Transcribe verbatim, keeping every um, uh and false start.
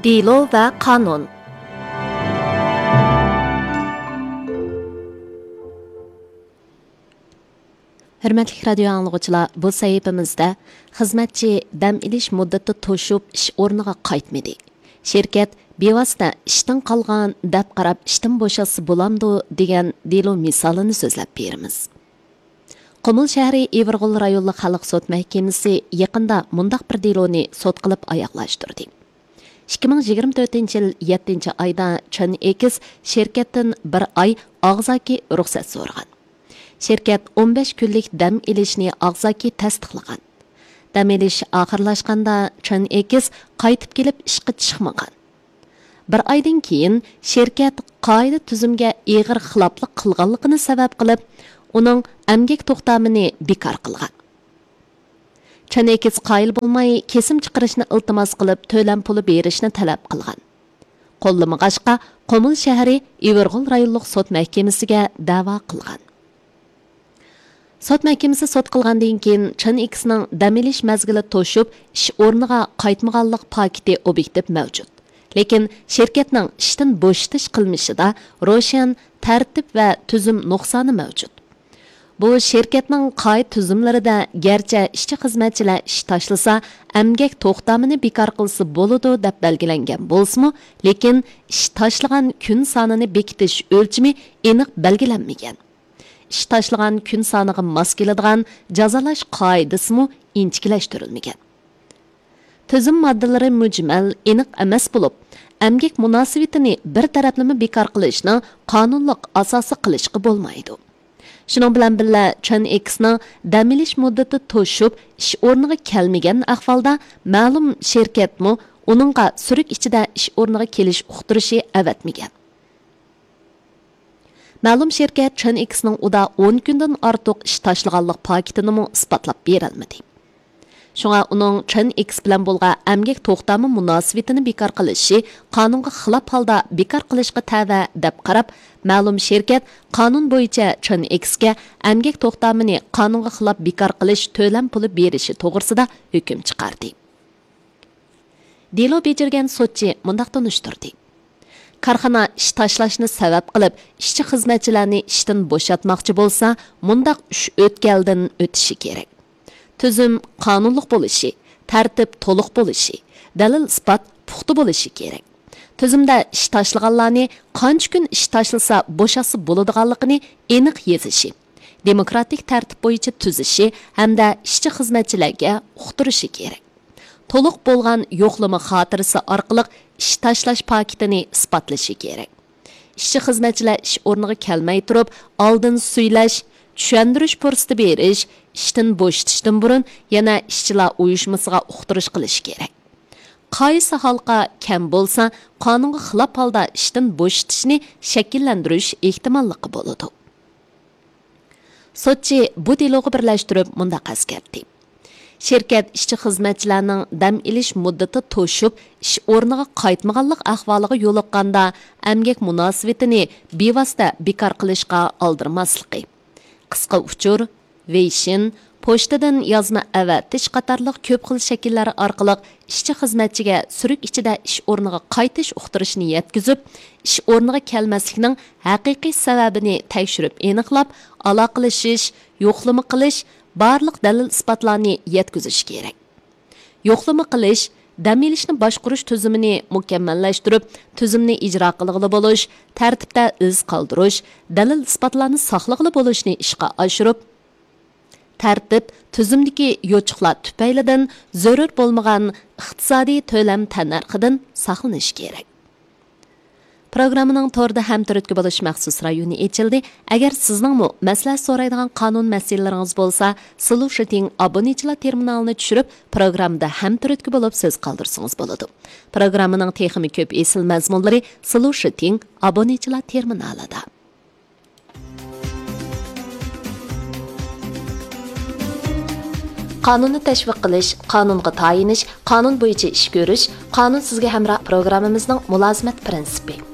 دېلو ۋە قانۇن. ھۆرمەتلىك رادىيو ئاڭلىغۇچىلار، بۇ سەھىپىمىزدە خىزمەتچى دەم ئېلىش مۇددىتى توشۇپ، ئىش ئورنىغا قايتمىدى. شىركەت بىۋاسىتە ئىشتىن قالغان دەپ قاراپ، ئىشتىن بوشاتسا بولامدۇ دېگەن دېلو مىسالىنى سۆزلەپ بېرىمىز. قۇمۇل شەھىرى ئىۋىرغول رايونلۇق خەلق سوت مەھكىمىسى يېقىندا مۇنداق بىر دېلونى سوت قىلىپ ئاياغلاشتۇردى. ئىككى مىڭ يىگىرمە تۆتىنچى يىل يەتتىنچى ئايدا چېن ئېكس شىركەتتىن بىر ئاي ئاغزاكى رۇخسەت سورىغان. شىركەت ئون بەش كۈنلۈك دەم ئېلىشنى ئاغزاكى تەستىقلىغان. دەم ئېلىش ئاخىرلاشقاندا، چېن ئېكس قايتىپ كېلىپ ئىشقا چىقمىغان. بىر ئايدىن كېيىن شىركەت قائىدە تۈزۈمگە ئېغىر خىلاپلىق قىلغانلىقىنى سەۋەب قىلىپ، ئۇنىڭ ئەمگەك توختامىنى بىكار قىلغان. چېن ئېكس قايىل بولماي، كېسىم چىقىرىشنى ئىلتىماس قىلىپ، تۆلەم پۇلى بېرىشنى تەلەپ قىلغان. قوللىمىغاچقا، قۇمۇل شەھىرى ئىۋىرغول رايونلۇق سوت مەھكىمىسىگە دەۋا قىلغان. سوت مەھكىمىسى سوت قىلغاندىن كېيىن، چېن ئېكسنىڭ دەم ئېلىش مەزگىلى توشۇپ، ئىش ئورنىغا قايتمىغانلىق پاكىتى ئوبيېكتىپ مەۋجۇت. لېكىن شىركەتنىڭ ئىشتىن بوشىتىش قىلمىشىدا روشەن تەرتىپ ۋە تۈزۈم نۇقسانى مەۋجۇت. بۇ شىركەتنىڭ قائىدە تۈزۈملىرىدە گەرچە ئىشچى خىزمەتچىلەر ئىش تاشلىسا، ئەمگەك توختامىنى بىكار قىلسا بولىدۇ دەپ بەلگىلەنگەن بولسىمۇ، لېكىن ئىش تاشلىغان كۈن سانىنى بېكىتىش ئۆلچىمى ئېنىق بەلگىلەنمىگەن. ئىش تاشلىغان كۈن سانىغا ماس كېلىدىغان جازالاش قائىدىسىمۇ ئىنچىكىلەشتۈرۈلمىگەن. تۈزۈم ماددىلىرى مۈجمەل، ئېنىق ئەمەس بولۇپ، ئەمگەك مۇناسىۋىتىنى بىر تەرەپلىمە بىكار قىلىشنىڭ قانۇنلۇق ئاساسى قىلىشقا بولمايدۇ. شۇنىڭ بىلەن بىللە، چېن ئېكسنىڭ دەم ئېلىش مۇددىتى توشۇپ، ئىش ئورنىغا كەلمىگەن ئەھۋالدا، مەلۇم شىركەتمۇ ئۇنىڭغا سۈرۈك ئىچىدە ئىش ئورنىغا كېلىش ئۇقتۇرۇشى ئەۋەتمىگەن. مەلۇم شىركەت چېن ئېكسنىڭ ئۇدا ئون كۈندىن ئارتۇق ئىش تاشلىغانلىق پاكىتىنىمۇ ئىسپاتلاپ بېرەلمىدى. شۇڭا ئۇنىڭ چېن ئېكس بىلەن بولغان ئەمگەك توختامى مۇناسىۋىتىنى بىكار قىلىشى قانۇنغا خىلاپ ھالدا بىكار قىلىشقا تەۋە دەپ قاراپ، مەلۇم شىركەت قانۇن بويىچە چېن ئېكسكە ئەمگەك توختامىنى قانۇنغا خىلاپ بىكار قىلىش تۆلەم پۇلى بېرىشى توغرىسىدا ھۆكۈم چىقاردى. دېلو بېجىرگەن سوتچى مۇنداق تونۇشتۇردى: كارخانا ئىش تاشلاشنى سەۋەب قىلىپ، ئىشچى خىزمەتچىلەرنى ئىشتىن بوشاتماقچى بولسا، مۇنداق ئۈچ ئۆتكەلدىن ئۆتۈشى كېرەك. تۈزۈم قانۇنلۇق بولۇشى، تەرتىپ تولۇق بولۇشى، دەلىل ئىسپات پۇختا بولۇشى كېرەك. تۈزۈمدە ئىش تاشلىغانلارنى قانچە كۈن ئىش تاشلىسا بوشاتسا بولىدىغانلىقىنى ئېنىق يېزىشى، دېموكراتىك تەرتىپ بويىچە تۈزۈشى ھەمدە ئىشچى خىزمەتچىلەرگە ئۇقتۇرۇشى كېرەك. تولۇق بولغان يوقلىما خاتىرىسى ئارقىلىق ئىش تاشلاش پاكىتىنى ئىسپاتلىشى كېرەك. ئىشچى خىزمەتچىلەر ئىش ئورنىغا كەلمەي تۇرۇپ، ئالدىن سۈيلەش، چۈشەندۈرۈش پۇرسىتى بېرىش، ئىشتىن بوشىتىشتىن بۇرۇن يەنە ئىشچىلار ئۇيۇشمىسىغا ئۇقتۇرۇش قىلىشى كېرەك. قايسى ھالقا كەم بولسا، قانۇنغا خىلاپ ھالدا ئىشتىن بوشىتىشنى شەكىللەندۈرۈش ئېھتىماللىقى بولىدۇ. سوتچى بۇ دېلوغا بىرلەشتۈرۈپ مۇنداق ئەسكەرتتى: شىركەت ئىشچى خىزمەتچىلەرنىڭ دەم ئېلىش مۇددىتى توشۇپ، ئىش ئورنىغا قايتمىغانلىق ئەھۋالىغا يولۇققاندا، ئەمگەك مۇناسىۋىتىنى بىۋاسىتە بىكار قىلىشقا ئالدىرىماسلىقى، قىسقا ئۇچۇر، ۋېيشىن، پوچتىدىن يازما ئەۋەتىش قاتارلىق كۆپ خىل شەكىللەر ئارقىلىق ئىشچى خىزمەتچىگە سۈرۈك ئىچىدە ئىش ئورنىغا قايتىش ئۇقتۇرۇشىنى يەتكۈزۈپ، ئىش ئورنىغا كەلمەسلىكنىڭ ھەقىقىي سەۋەبىنى تەكشۈرۈپ ئېنىقلاپ، ئالاقىلىشىش، يوقلىما قىلىش، بارلىق دەلىل ئىسپاتلارنى يەتكۈزۈش كېرەك. يوقلىما قىلىش، دەم ئېلىشنى باشقۇرۇش تۈزۈمىنى مۇكەممەللەشتۈرۈپ، تۈزۈمنى ئىجرا قىلغىلى بولۇش، تەرتىپتە ئىز قالدۇرۇش، دەلىل ئىسپاتلارنى ساقلىغىلى بولۇشنى ئىشقا ئاشۇرۇپ، تەرتىپ، تۈزۈمدىكى يوچۇقلار تۈپەيلىدىن زۆرۈر بولمىغان ئىقتىسادىي تۆلەم تەننەرخىدىن ساقلىنىش كېرەك. پروگراممىنىڭ توردا ھەمتۈرتكە بولۇش مەخسۇس رايونى ئېچىلدى. ئەگەر سىزنىڭمۇ مەسلىھەت سورايدىغان قانۇن مەسىلىلىرىڭىز بولسا، سلۇشىتىڭ ئابونېنتچىلار تېرمىنالىنى چۈشۈرۈپ، پروگراممىدا ھەمتۈرتكە بولۇپ سۆز قالدۇرسىڭىز بولىدۇ. پروگراممىنىڭ تېخىمۇ كۆپ ئېسىل مەزمۇنلىرى سلۇشىتىڭ ئابونېنتچىلار تېرمىنالىدا. قانۇننى تەشۋىق قىلىش، قانۇنغا تايىنىش، قانۇن بويىچە ئىش كۆرۈش، قانۇن سىزگە ھەمراھ پروگراممىمىزنىڭ مۇلازىمەت پىرىنسىپى.